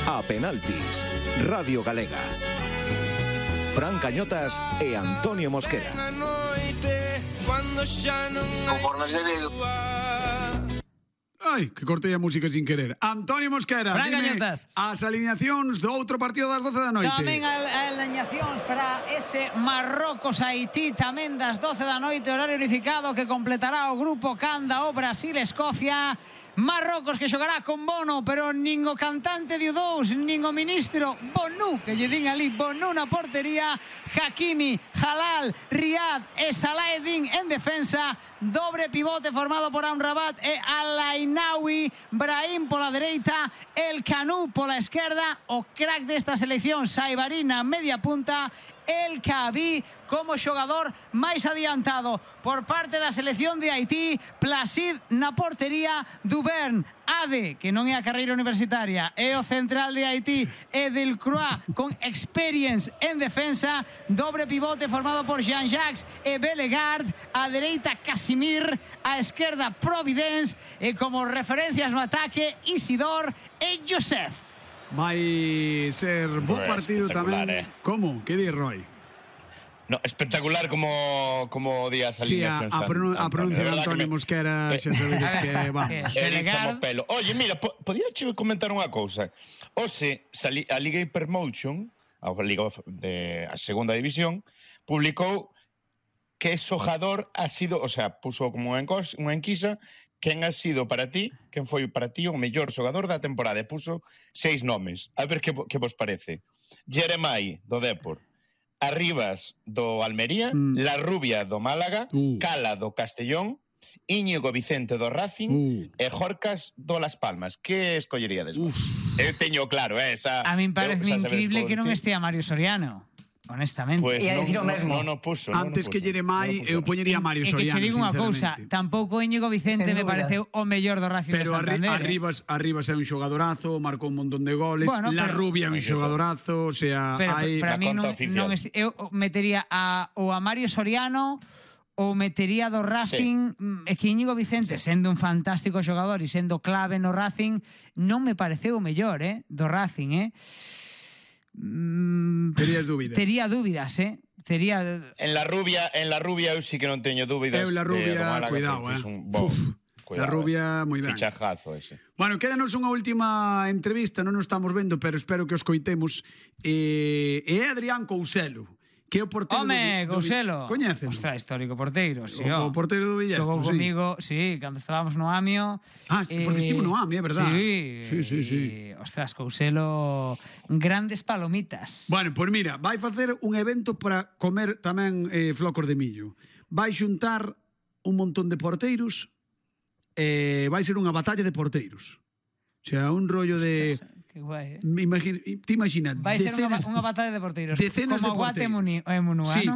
A penaltis, Radio Galega. Fran Cañotas e Antonio Mosquera. Conforme debido. Ai, que cortei a música sin querer. Antonio Mosquera, Fran dime Cañotas. as alineacións do outro partido das 12 da noite. Tamén as alineacións para ese Marrocos-Haití, tamén das 12 da noite, horario unificado, que completará o grupo Canda o Brasil-Escocia. Marrocos que xogará con Bono, pero nin o cantante de U2, nin o ministro Bonu, que lle din ali, Bonu na portería, Hakimi, Halal, Riyad e Salaheddin en defensa, dobre pivote formado por Amrabat e Al-Ainaoui, Brahim pola dereita, El Kanou pola esquerda, o crack desta selección, Saibarina, media punta, El Kaabi como xogador máis adiantado. Por parte da selección de Haití, Placid na portería, Duvern, Ade, que non é a carreira universitaria, é o central de Haití, e Delcroix con experience en defensa, dobre pivote formado por Jean-Jacques e Bellegarde, a dereita Casimir, a esquerda Providence, e como referencias no ataque, Isidor e Joseph. Vai ser bo partido tamén. Como? Que di Roy? No, espectacular como días alineacións. Sí, a pronuncia de Antonio Mosquera xa sabedes que vamos. Erizamo pelo. Oye, mira, podías comentar unha cousa. Hoxe, a Liga Hypermotion, a Liga a segunda división, publicou que xogador ha sido, o sea, puso como unha enquisa, quen ha sido para ti, quen foi para ti o mellor xogador da temporada, e puso 6 nomes. A ver que vos parece. Jeremai, do Depor, Arribas, do Almería, La Rubia, do Málaga, Cala, do Castellón, Íñigo Vicente, do Racing, e Jorcas, do Las Palmas. Que escolleríades vos? Eu teño claro, esa... A min parece increíble que non estea Mario Soriano. Honestamente. Pues non puso. Antes que Jeremai, eu poñería a Mario Soriano, sinceramente. E que che digo unha cousa, tampouco Íñigo Vicente me pareceu o mellor do Racing de Santander. Pero Arribas é un xogadorazo, marcou un montón de goles, La Rubia é un xogadorazo, o sea, hai... Pero para mí non eu metería a Mario Soriano ou metería do Racing, é que Íñigo Vicente, sendo un fantástico xogador e sendo clave no Racing, non me pareceu o mellor, do Racing, Terías dúbidas? Tería dúbidas, Tería... En la rubia eu sí que non teño dúbidas. Eu La Rubia, cuidado, La Rubia, moi ben. Fichajazo ese. Bueno, quédanos unha última entrevista, non nos estamos vendo, pero espero que os coitemos. É Adrián Couselo, que é o porteiro Couselo. Coñecen? Ostras, histórico porteiro, sí. O porteiro do Villestro, xogou comigo, sí, cando estábamos no AMIO. Porque estivo no AMIO, é verdad. Sí. Ostras, Couselo, grandes palomitas. Bueno, pois mira, vai facer un evento para comer tamén flocos de millo. Vai xuntar un montón de porteiros e vai ser unha batalla de porteiros. O sea, un rollo de... Que guai, Te imaginas, vai ser unha batalla de porteiros. Decenas de porteiros. Como Guate e Munuano.